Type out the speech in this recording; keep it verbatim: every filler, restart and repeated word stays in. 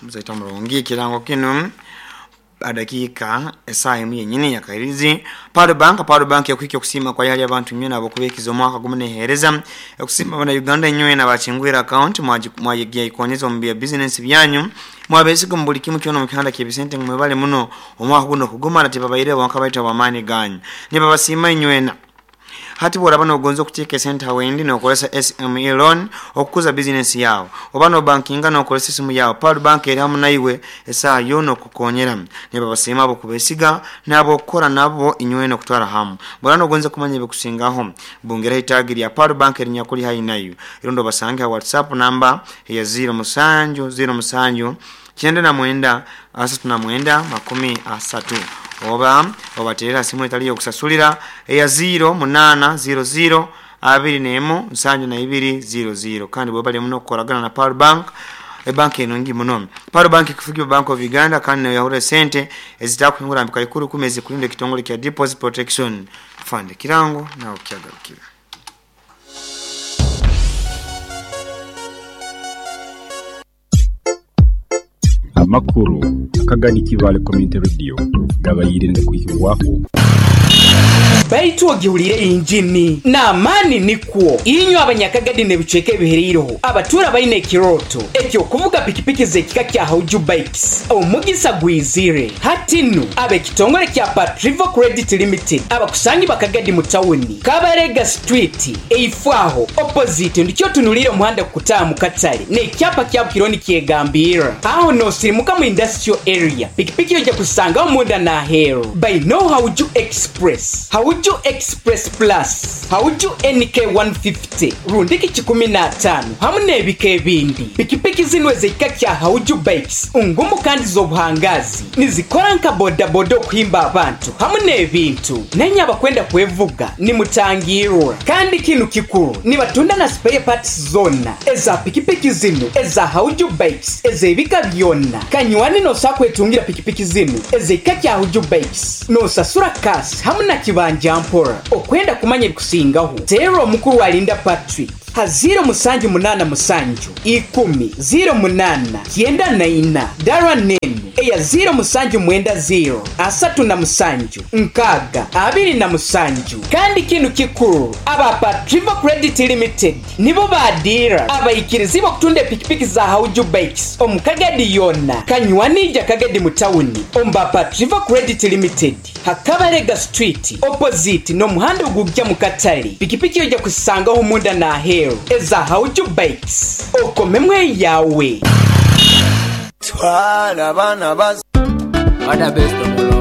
Muzaita mulungi kirango kino adakiika esaaha emu yenyini yakairizi Pearl Bank. Pearl Bank ekuhika okusiima kwa yali abantu nywena abokubekiza omwaka gumu nehereza okusiima bana Uganda nywena bakingwira account mwagiikonyeza omu bya business byanyu mwabesiga mu buli kimu kyona mu kihanda ky'ebisente mwebale muno omwaka guno kugumara tibabaire bonka baita bamaani ganyu nibabasiima nywena. Hati bworaba nogonza okuteeka esente hawendi nokozesa S M E loan okukuza business yawe oba no bankinga nokozesa esimu yawe, Pearl Bank eri hamu naiwe esaaha yoona okukonyera. Nibabasiima abo kubesiga nabo okukora nabo inywena okutwara hamu. Bwora nogonza kumanya ebikusingaho bungeraho itaagi lya Pearl Bank erinyakuli haihi nayo irondo basange ha WhatsApp namba eya ziro musanju ziro musanju kyenda na mwenda asatu na mwenda makumi asatu oba obaterera simu etali yokusasulira eya ziro munana ziro ziro abiri nemu nsanju na ibiri ziro ziro. Kandi bwebali muno okukoragana na Pearl Bank, ebanki enungi muno. Pearl Bank ekufugiibwa Bank of Uganda kandi neyahura esente ezitakuhingura mpika ikumi ezikurinda ekitongole kya Deposit Protection Fund. Kirango nawe kyagarukira. Amakuru Akagadi Kibaale Community Radio gabaire nga kuhikibwaku. Baitu ogiwulire injini n'amaani nikwo inywe abanyakagadi n'ebicweka ebihereireho abatura balina ekirooto ekyokuvuga pikipiki z'ekika kya Hauju Bikes omugisa gwizire hati nu ab'ekitongole kya Patrivo Credit Limited abakusangi bakagadi mu tawuni Kabarega Street eifaaho opposite ndikyo otunulire omuhanda kukutaaha mu katale n'ekyapa kya Bukironi kyegambira aho n'osirimuka mu industrial area pikipiki ojja kusangaho munda n'aheeru baino Hauju Express, Hauju Express Plus, Hauju N K one fifty, rundiki kikumi na ataano hamu n'ebika ebindi. Pikipiki zino ez'ekika kya Hauju Bikes ngumu kandi z'obuhangazi nizikora nka bodaboda okuhimba abantu hamu n'ebintu. Nenye abakwenda kwevuga nimutangirwa kandi kinu kikuru nibatunda na spare parts zona eza pikipiki zino eza Hauju Bikes ez'ebika byonna. Kanywani n'osobola kwetungira pikipiki zino ez'ekika kya Hauju Bikes n'osasura kasi hamu na kibanja mpora. Okwenda kumanya ebikusingaho teera omukuru alinda Patrick ha ziro musanju munana musanju ikumi ziro munana kyenda na ina dara nenu eya ziro musanju mwenda ziro asatu na musanju nkaaga abiri na musanju. Kandi kinu kikuru aba Patrivo Credit Limited nibo badira abaikirizi okutunda epikipiki za Hauju Bikes omu Kagadi yonna Kanywanija Kagadi mu tawuni omba Patrivo Credit Limited Hakabarega Street opposite n'omuhanda ogujja mu katale. Pikipiki ojja kusangaho munda n'aheeru eza Hauju Bikes okomemwe yawe. Twala abaana bas Ada best.